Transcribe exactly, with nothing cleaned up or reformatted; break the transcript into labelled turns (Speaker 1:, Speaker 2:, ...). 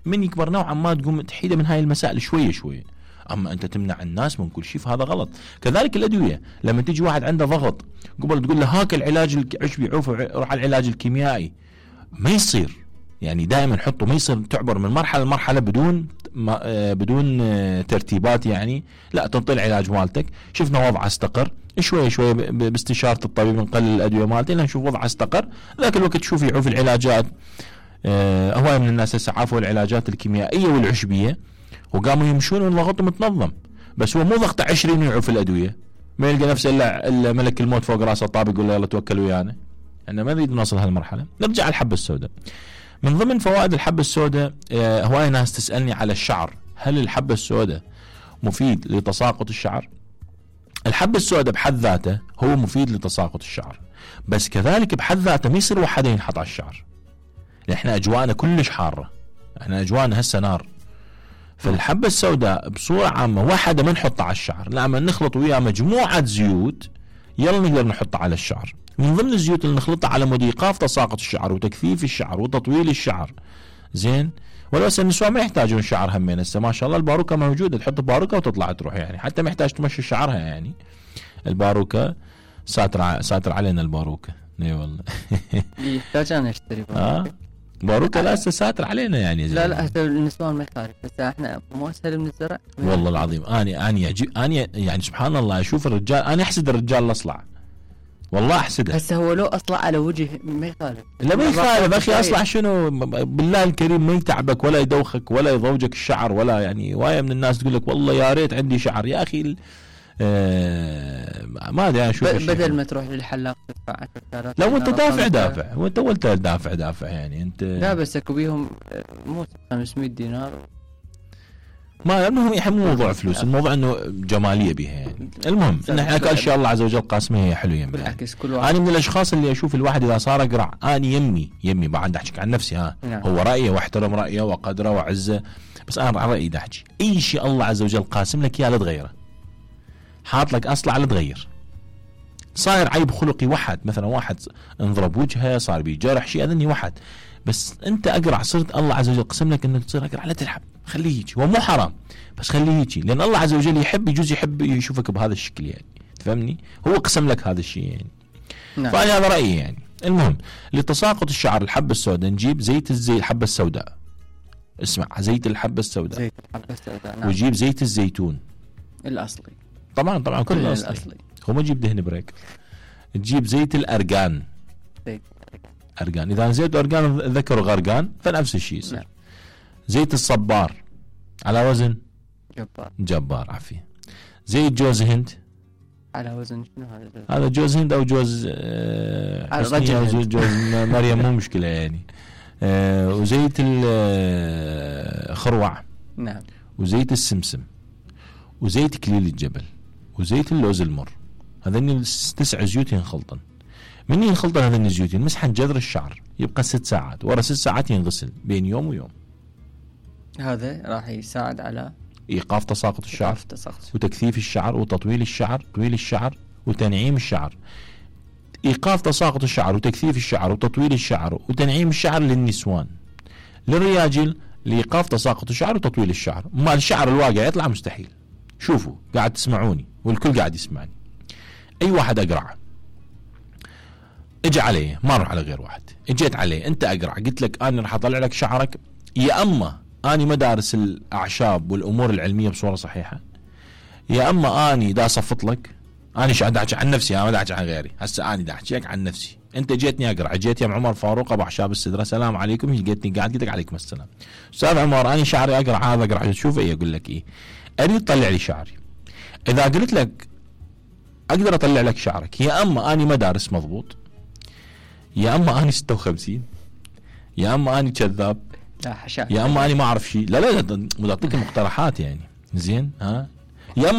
Speaker 1: من يكبر نوعا ما تقوم تحيده من هاي المسائل شويه شويه. اما انت تمنع الناس من كل شيء فهذا غلط. كذلك الادويه، لما تيجي واحد عنده ضغط قبل تقول له هاك العلاج العشبي عوف روح على العلاج الكيميائي، ما يصير. يعني دائما حطه، ما يصير تعبر من مرحله لمرحله بدون ما آه بدون آه ترتيبات. يعني لا، تنطي العلاج مالتك، شفنا وضعه استقر شوي شوي باستشاره الطبيب نقلل الادويه مالته لين نشوف وضعه استقر، ذاك الوقت تشوف يعوف العلاجات. آه هواي من الناس هسه عافوا العلاجات الكيميائيه والعشبيه وقاموا يمشون من ضغطهم متنظم، بس هو مو ضغطه عشرين ويعوف الادويه، ما يلقى نفسه الا الا ملك الموت فوق راسه طابق يقول له يلا توكل ويانا. احنا ما نريد نوصل هالمرحله. نرجع على الحبه السوداء. من ضمن فوائد الحبه السوداء، آه هواي ناس تسالني على الشعر، هل الحبه السوداء مفيد لتساقط الشعر؟ الحبه السوداء بحد ذاته هو مفيد لتساقط الشعر، بس كذلك بحد ذاته ما يصير وحده ينحط على الشعر. احنا اجواءنا كلش حاره، احنا اجواءنا هسه نار. فالحبه السوداء بصوره عامه وحده ما نحطها على الشعر، لما نخلط وياه مجموعه زيوت يلا نقدر نحطها على الشعر. من ضمن الزيوت اللي نخلطها على مود ايقاف تساقط الشعر وتكثيف الشعر وتطويل الشعر. زين، ولو هسه النسوان ما يحتاجون شعر همين، هسه ما شاء الله الباروكه موجوده، تحط باروكه وتطلع تروح، يعني حتى ما يحتاج تمشي شعرها. يعني الباروكه ساتر ساتر علينا الباروكه. اي والله
Speaker 2: يحتاج انا اشتري باروكه.
Speaker 1: باروكه لا هسه ساتر علينا يعني.
Speaker 2: لا لا هسه النسوان ما يخالف، بس احنا مو اسهل من الزرع.
Speaker 1: والله العظيم اني اني يعجب اني يعني سبحان الله اشوف الرجال، انا احسد الرجال الاصلع، والله احسده.
Speaker 2: هسه هو لو اصلع على وجه ما يخالف.
Speaker 1: لا ما يخالف اخي، اصلع شنو بالله الكريم، ما يتعبك ولا يدوخك ولا يضوجك الشعر ولا يعني. وايه من الناس تقول لك والله يا ريت عندي شعر. يا اخي آه ما ادري انا شو
Speaker 2: بدل ما تروح للحلاق تدفع عشرة آلاف.
Speaker 1: لو انت دافع دافع وانت قلت دافع دافع يعني انت.
Speaker 2: لا بس اكو بيهم مو خمسمية دينار.
Speaker 1: ما المهم يحب موضوع فلوس، الموضوع انه جماليه بها يعني. المهم ان احنا ان شاء الله عز وجل قاسمه هي حلوه يعني.
Speaker 2: بالعكس كل واحد.
Speaker 1: انا من الاشخاص اللي اشوف الواحد اذا صار اقرع، انا يمي يمي بعد احكي عن نفسي ها. نعم. هو رايه واحترم رايه وقدره وعزه، بس انا على رايي احكي اي شيء الله عز وجل قاسم لك اياه لا تغيره. حاط لك اصلع لا تغير. صاير عيب خلقي وحد، مثلا واحد انضرب وجهه صار بيه جرح شيء اذني وحد، بس انت اقرع صرت الله عز وجل قسم لك انك تصير اقرع لا تلعب، خليه هيك. هو مو حرام بس خليه هيك، لان الله عز وجل يحب يجوز يحب يشوفك بهذا الشكل يعني. تفهمني؟ هو قسم لك هذا الشيء يعني. نعم. فانا هذا رايي يعني. المهم لتساقط الشعر الحبه السوداء نجيب زيت الزي الحبه السوداء. اسمع، زيت الحبه السوداء.
Speaker 2: زيت الحبه السوداء. نعم.
Speaker 1: وجيب زيت الزيتون
Speaker 2: الاصلي.
Speaker 1: طبعا طبعا كل الاصلي. الأصلي. هو ما تجيب دهن بريك. تجيب زيت الارغان.
Speaker 2: زيت
Speaker 1: ارغان، اذا زيت ارغان ذكر غرقان فنفس الشيء يصير. نعم. زيت الصبار على وزن
Speaker 2: جبار.
Speaker 1: جبار عافيه. زيت جوز هند
Speaker 2: على وزن شنو هذا؟
Speaker 1: هذا جوز هند او جوز آه جوز, جوز مريم مو مشكله يعني. آه وزيت الخروع.
Speaker 2: نعم.
Speaker 1: وزيت السمسم وزيت كليل الجبل وزيت اللوز المر. هذين تسع زيوت ينخلطن. من ينخلطن هذين الزيوت يمسحن جذر الشعر، يبقى ست ساعات، ورا ست ساعات ينغسل بين يوم ويوم.
Speaker 2: هذا راح يساعد على
Speaker 1: ايقاف تساقط الشعر،
Speaker 2: إيقاف تساقط.
Speaker 1: وتكثيف الشعر وتطويل الشعر، طويل الشعر وتنعيم الشعر. ايقاف تساقط الشعر وتكثيف الشعر وتطويل الشعر وتنعيم الشعر للنسوان. للرجال لايقاف تساقط الشعر وتطويل الشعر. ما الشعر الواقع يطلع مستحيل. شوفوا قاعد تسمعوني والكل قاعد يسمعني، اي واحد اقرع اجي عليه، ما اروح على غير واحد، اجيت عليه انت اقرع قلت لك انا راح اطلع لك شعرك، يا اما اني ما دارس الاعشاب والامور العلميه بصوره صحيحه، يا اما اني دا صفط لك. انا قاعد احكي عن نفسي، انا ما احكي عن غيري. هسه اني دا احكي عن نفسي. انت جيتني اقرع، جيت يا عمر فاروق ابو اعشاب السدره، سلام عليكم، جيتني قاعد قلت لك عليكم السلام استاذ عمر انا شعري اقرع، هذا اقرع تشوف ايه؟ اقول لك ايه؟ اريد تطلع لي شعري. اذا قلت لك اقدر اطلع لك شعرك، يا اما اني ما دارس مضبوط، يا اما اني ستة وخمسين، يا اما اني كذاب،
Speaker 2: لا حشا،
Speaker 1: يا اما اني ما اعرف شيء. لا لا بدي اعطيك مقترحات يعني. زين ها